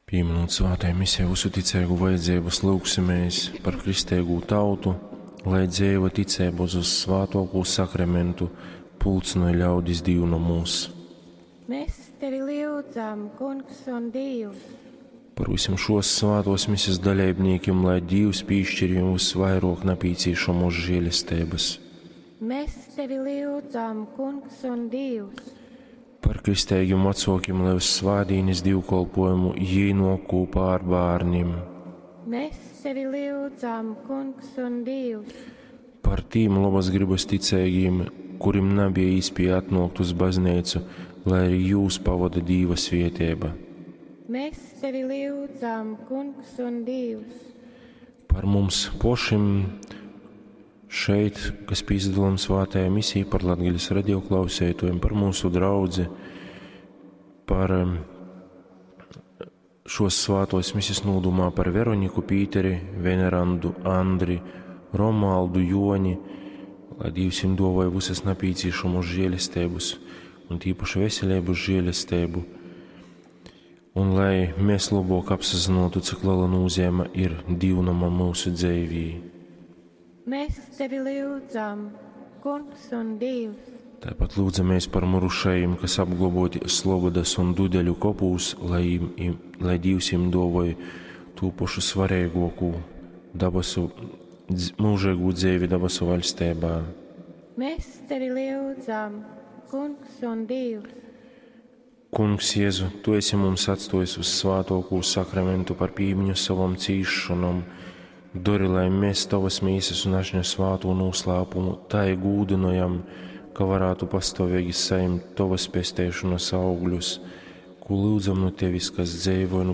Pīminūt svātajai misijai vysu ticeigu vajadzeibys, lyugsimēs par kristeigū tautu, lai dzeiva ticeiba uz vyssvātuokū sakramentu pulcynoj ļaudis dīvnomūs. Mēs tevi lyudzam, Kungs un Dīvs. Par vysim šuos svātuos misijas daleibnīkim, lai Dīvs pīškir jim vysvairuok napīcīšamuos žielesteibys. Mēs tevi lyudzam, Kungs un Dīvs. Par kristeigim vacuokim, lai uz svātdīnis dīvkolpuojumu jī nuok kūpā ar bārnim. Mēs tevi lyudzam, Kungs un Dīvs. Par tīm lobas grybas ticeigīm, kurim nabija īspieja atnuokt uz bazneicu, lai arī jūs pavoda Dīva svieteiba. Mēs tevi lyudzam, Kungs un Dīvs. Par mums pošim šeit, kas pīsadalām svātajā misijā, par Latgales radio klausētojiem, par mūsu draudzi, par šos svātos misijas nūdumā par Veroniku, Pīteri, Venerandu, Andri, Romualdu, Joni, lai Dīvs jim duovoja visas napīcīšamos žēlestības un tīpaši veselības žēlestību, un lai mēs labāk apsazinotu, cik liela nozīme ir dīvnama mūsu dzīvī. Mēs tevi lyudzam, Kungs un Dīvs. Tāpat lūdzamies par mirušajiem, kas apglaboti Slobodas un Dudeļu kopūs, lai, im, lai Dīvs jim duovoja tū pašu svarīgāko dabasu, mūžīgu dzīvi dabasu valstībā. Mēs tevi lyudzam, Kungs un Dīvs. Kungs Jēzu, Tu esi mums atstājis uz svātokū sakramentu par pīmiņu savam cīšanom. Dori, lai mēs Tavas mīsas un ašņa svāto noslēpumu tai gūdinojam, ka varētu pastāvīgi saņemt Tavas pesteišanas augļus, ko lūdzam no Tevis, kas dzīvo un